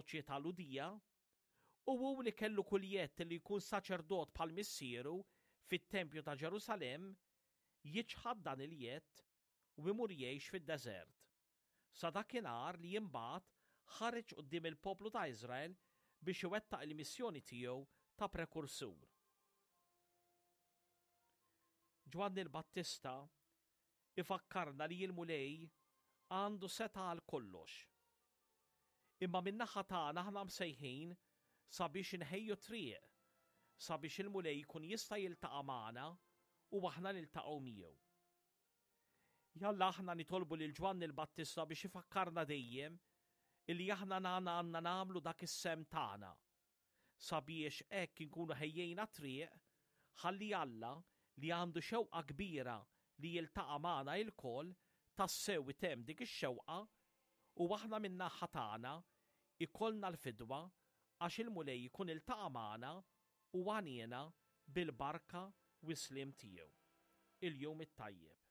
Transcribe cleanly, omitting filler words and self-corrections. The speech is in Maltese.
fis-soċjetà Lhudija, u hu li kellu kull jedd li jkun saċerdot bħal missieru fit-tempju ta' Ġerusalemm, jiċħad dan il-jedd u imur jgħix fid-deżert, sa dakinhar li imbagħad ħareġ quddiem il-poplu ta' Iżrael biex iwettaq il-missjoni tiegħu ta' prekursur. Ġwanni l-Battista ifakkarna li l-Mulej għandu setgħa għal kollox. Imma min-naħa tagħna aħna msejħin sabiex inħejju triq sabiex il-Mulej jkun jista' jiltaqa' magħna u aħna niltaqgħu miegħu. Jalla aħna nitolbu lil Ġwanni l-Battista biex ifakkarna dejjem illi aħna nagħna għandna nagħmlu dak is-sehem tagħna sabiex hekk inkunu ħejjejna t-triq ħalli Alla li għandu xewqa kbira li jiltaqa' magħna ilkoll tassew itemm dik ix-xewqa u aħna min-naħa tagħna ikollna l-fidwa għax il-Mulej ikun iltaqa' magħna u għaniena bil-barka u s-sliem tiegħu. Il-Jum it-Tajjeb.